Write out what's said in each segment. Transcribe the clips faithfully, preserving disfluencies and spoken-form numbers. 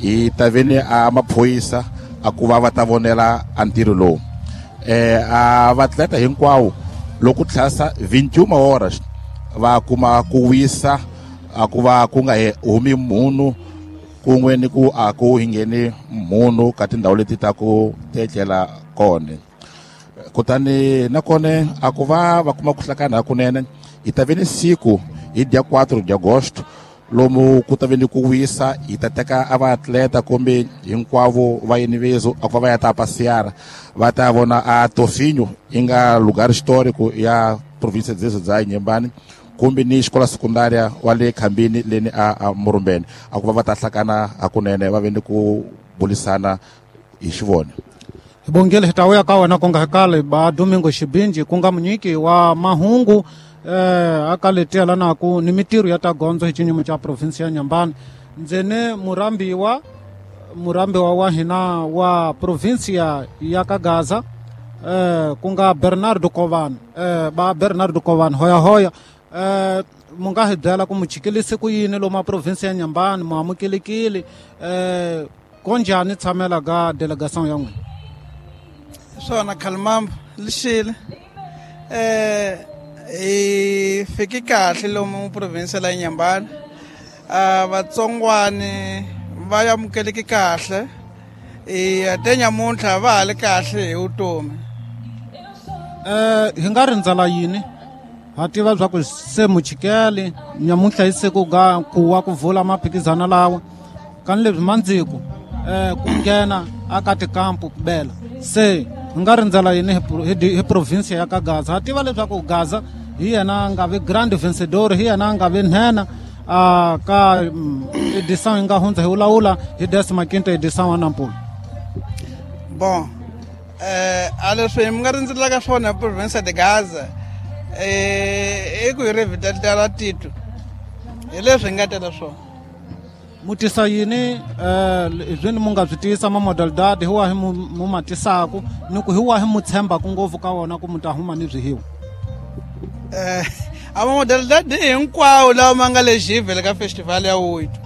Hi ta ve ni a maphorisa a ku va va ta vonela a ntirho lowu. eh a vatleta hinkwawo loko tlhasa vintiuna horas va kuma ku wisa, a ku va ku nga humi munhu kun'we ni ku a ku hi ngheni munhu ka tindhawu leti ta ku tetlela kona. Kutani nakona a ku va va kuma ku hlakana hakunene. Hi ta ve ni siku hi dia quatro de agosto lomu ku ta ve ni ku wisa, hi ta teka a vaatleta kumbe hinkwavo va yinivezo a ku va va ya ta passear, va ta vona a Tofinho yi nga lugar histórico ya província dzezo dza Inhambane, kumbe ni xikola secundária wa le Khambini leni a, a Murumbeni, a ku va va ta hlakana hakunene va ve ni ku bulisana hi xivona. Hi bongile, hi ta vuya ka wena ku nga kale ba Domingo Xibinji ku nga munyiki wa mahungu eh aka leti lanaku ni mitirho ya ta gondzo hi xinyimo xa province ya Inhambane. Ndzene murambiwa murambiwa wa hina wa province ya ka Gaza eh ku nga Bernardo Kovan, eh ba Bernardo Kovan hoya hoya. Eh mu nga hi byela ku mu chikilise ku yini lomu province ya Inhambane, mu amukelekile eh konjhani tshamela ga delegation ya n'wina? Swona Khalimambo lixile. Eh hi fiki kahle lomu province la Inhambane. A vatsongwani va amukeleki kahle. E te nyamuntlha va ha le kahle hi vutomi. Eh hi nga rindzela yini? Ha tiva swa ku se muchikele nyamuntlha hi siku ga ku wa ku vula maphikizano lawa. Kani leswi mandziku eh ku nghena aka tikampu ku bela. Se hi nga rindzela yini hi, hi province ya ka Gaza? Ha tiva leswaku Gaza hi yena a nga ve grand vencedor, hi yena a nga ve nhenha a ka edição yi nga hundza hi vulavula hi décima quinta edição wa Nampula. Bon, eh a leswi mi nga rindzelaka swona hi province de Gaza eh i ku hi revitaliza tito, hi leswi hi nga tela swona. Mu tisa yini eh leswi mu nga swi tisa ma modalidade hi wahi mu, mu ma tisaku ni ku hi wahi mu tshembaku ngopfu ka wona ku mu ta huma ni swihiwa? Eh a ma modalidade hinkwawo lawa ma nga le Givele ka festival ya oito.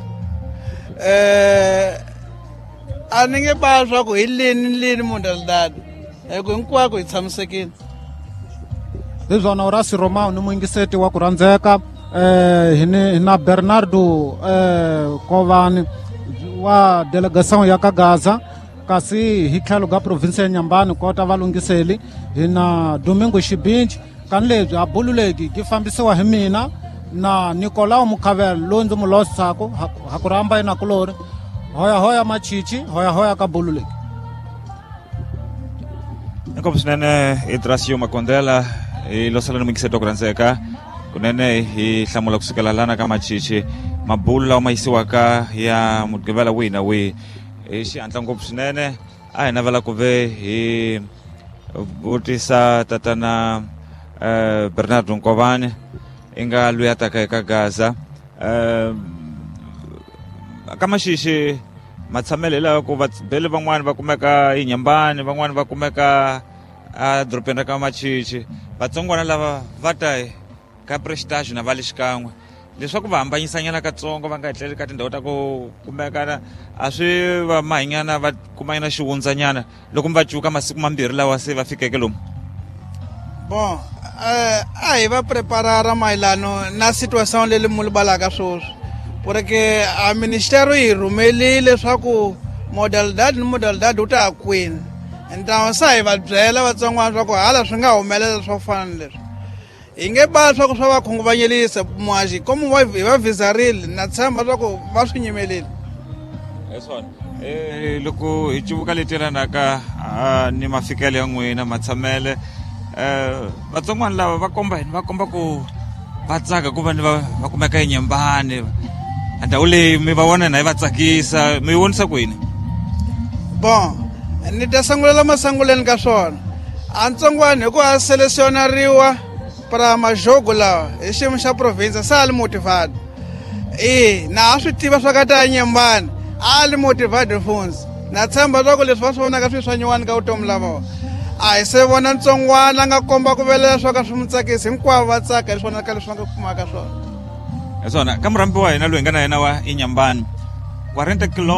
Eh a ni nge ba swa ku hi lini ni lini modalidade, hi ku hinkwako hi tshamisekile. Hi swona Horace Romao ni muyingiseti wa ku rhandzeka eh hi ni na Bernardo eh Kovani wa delegation ya ka Gaza, kasi hi tlhelo ka province ya Inhambane kota valunghiseli hi na Domingo Xibinji. Kani lebyi a bululeki ki fambisiwa hi mina na Nicolau Mukhavela loyi ndzi mu losaku ha ku rhamba yena kulori. Hoya hoya machichi, hoya hoya ka bululeki. Inkomu swinene Idrasio Makondela hi losela ni muyingiseti wa ku rhandzeka kunene hi hlamula kusukela lana ka machichi mabulu lawa ma yisiwaka ya mugqivela wihi na wihi hi xihatla ngopfu swinene. A hi navela ku ve hi vutisa tatana eh Bernardo Nkovani i nga loyi a taka eka Gaza. Eh ka maxixi matshamelo hi lawa ku vabeli van'wani va kumeka Inhambane, van'wani va kumeka a dorobeni ra ka Machichi. Vatsongwana lava va ta ka Prestige na va le xikan'we leswaku va hambanyisanyana katsongo va nga etleli ka tindhawu ta ku kumekana a swi va mahinyana va kumanyana xiwundzanyana loko mi va cuka masiku mambirhi lawa se va fikeke lomu. Bon, eh a hi va preparara mayelano na situation leyi mu libalaka sweswi, porque a ministério yi rhumelile leswaku modalidade ni modalidade wu ta ya kwini. Ntamu sa hi va byela vatsongwana swa ku hala swi nga humelela swo fana ni leswi. Hi nge ba swa ku swa va khunguvanyelisa muhaxi komu va hi va vizarile na tshemba swa ku va swi nyimelile. Hi swona. Eh loko hi cuvuka leti yelanaka ni mafikelo ya n'wina matshamele eh vatsongwana lava va komba yini? Va komba ku va tsaka ku va ni va, va kumeka eNyembane. Ndhawu leyi mi va vona na yi va tsakisa, mi yi vonisa ku yini? Bon, ni ta sangulela masanguleni ka swona. A ntsongwana hi ku a selesionariwa para majogo lawa hi xiyimo xa province sa li motivado. E na a swi tiva swa ka ta Inhambane, a li motivado funzi. Na tshemba swa ku leswi va swi vonaka swi swa nyuwani ka vutomi la vona. A hi se vona ntsongwana a nga komba ku velela swa ka swi mu tsakisi, hinkwavo va tsaka hi swona ka leswi va nga kumaka swona. Hi swona ka murhambi wa hina loyi hi nga na yena wa Inhambane, quarenta quilômetros